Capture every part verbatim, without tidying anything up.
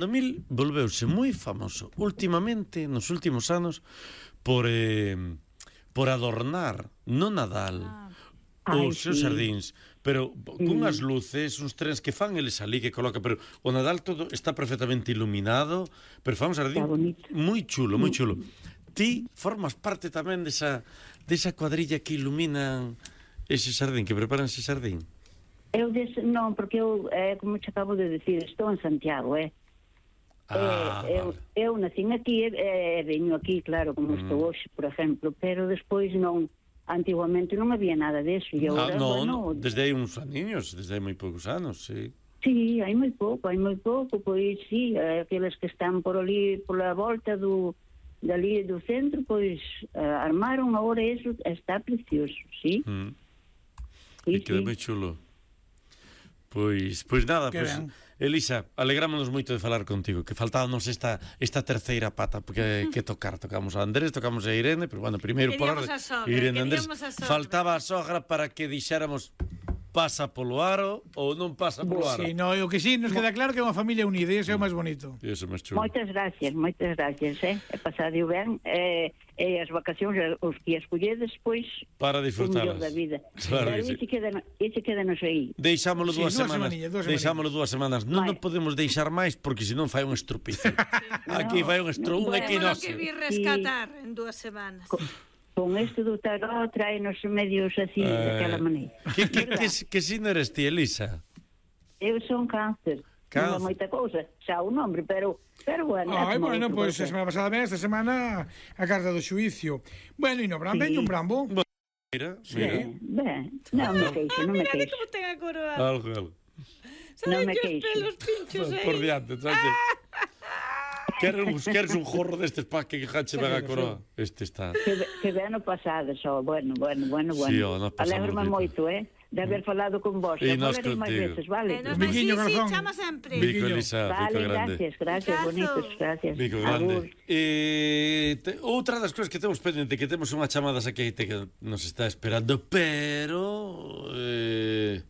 No mil volveuse moi famoso últimamente, nos últimos anos, por eh, por adornar no Nadal Ah. os Ai, seus sí. xardíns, pero cunhas luces, uns trens que fan eles ali que coloca, pero o Nadal todo está perfectamente iluminado, pero fan un xardín Está bonito. moi chulo, moi chulo. Ti formas parte tamén desa desa cuadrilla que iluminan ese xardín, que preparan ese xardín? Eu des... non, porque eu, eh, como te acabo de decir, estou en Santiago, eh? Ah, eh, eu, vale. eu nacín aquí e eh, veño aquí, claro, como Mm. estou hoxe, por exemplo, pero despois non, antiguamente non había nada deso, e Ah, agora, no, bueno, no, desde hai uns aniños, desde hai moi poucos anos, sí. sí, hai moi pouco, hai moi pouco, pois sí, eh, aqueles que están por ali, pola volta do, dali do centro, pois eh, armaron, agora eso está precioso, sí, Mm. sí, E quedou sí. moi chulo. Pois, pois nada, Que pois, ben. Elisa, alegrámonos moito de falar contigo, que faltábamos esta esta terceira pata, porque que tocar, tocamos a Andrés, tocamos a Irene, pero bueno, primeiro por Queríamos orde, a sogra, Irene Andrés, queríamos a sogra. faltaba a sogra para que dixéramos pasa polo aro ou non pasa polo aro. Sí, no, o que sí, nos queda claro que é unha familia unida, e iso é o máis bonito. E iso é máis chulo. Moitas gracias, moitas gracias, eh? E pasadeo ben, e, e as vacacións, os que escolledes, pois, Para o mellor disfrutalas. da vida. Claro Pero que sí. ese queda, ese queda nos aí. Deixámolo Sí, dúas dúas semanas. semaniñas, dúas Deixámolo dúas semanas. Non Vai. nos podemos deixar máis porque senón fai un estrupizo. Aquí No, fai un estro, un bueno. Temos equinoccio. que vir rescatar en dúas semanas. Con, con este do tarot traenos medios así, Eh, daquela maneira. Que, que, que, Verdad? que signo eres ti, Elisa? Eu son cáncer. Cáncer. Non é moita cousa, xa o nombre, pero, pero bueno. Ai, é como bueno, outro pois a qualquer. semana pasada ben, esta semana a carta do xuicio. Bueno, e no Bran, Sí. veño un Brambo. Mira, Sí. mira. Ben, ben, non me queixo, non me Mira, queixo. como ten a coroa. Algo, algo. Non me Saben que os queixo. pelos pinchos aí. Por diante, trache. Queres un, queres un jorro destes pa que jache ben a coroa? Este está. Que, ve- que ve ano pasado, só, bueno, bueno, bueno, bueno. Sí, ó, nós pasamos Alégrome moito. moito, eh, de haber falado con vos. E E nós falarei máis contigo. veces, vale? Eh, nos Un sí, biquiño, sí, corazón. chama sempre. Bico, Biquiño. Elisa, Vale, bico grande. gracias, gracias, Abrazo. bonitos, gracias. Bico Agur. grande. Eh, te, outra das cousas que temos pendente, que temos unha chamada aquí que nos está esperando, pero eh,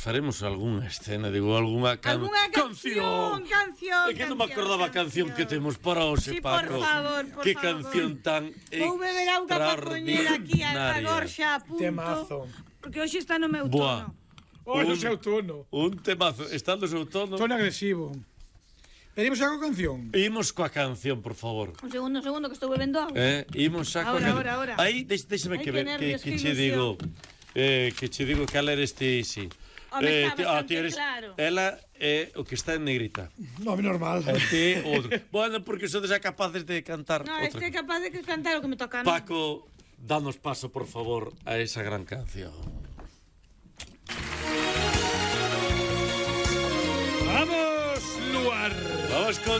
faremos algunha escena, digo, algunha can... Alguna canción, canción, É que non me acordaba a canción que temos para hoxe, Sí, por Paco. favor, por que favor. canción tan Vou beber auga para poñer aquí a, a extraordinaria. gorxa a punto. Temazo. Porque hoxe está no meu Buah. tono. Oi, no Un- seu tono. Un temazo, estando seu tono. Tono agresivo. Pedimos algo canción. Imos coa canción, por favor. Un segundo, un segundo, que estou bebendo auga. Eh, imos xa coa Ahora, canción. ahora, ahora. Aí, deix, deixame Ai, que, que ver, que, nervios, que que che ilusión. digo... Eh, que che digo que ela eres ti, sí. Home, está ti- ah, bastante ti eres, claro. Ela é o que está en negrita. No, normal. E ti outro. Bueno, porque sodes xa capaces de cantar No, outra. este é capaz de que cantar o que me toca a mí. Paco, danos paso, por favor, a esa gran canción. Vamos, Luar. Vamos con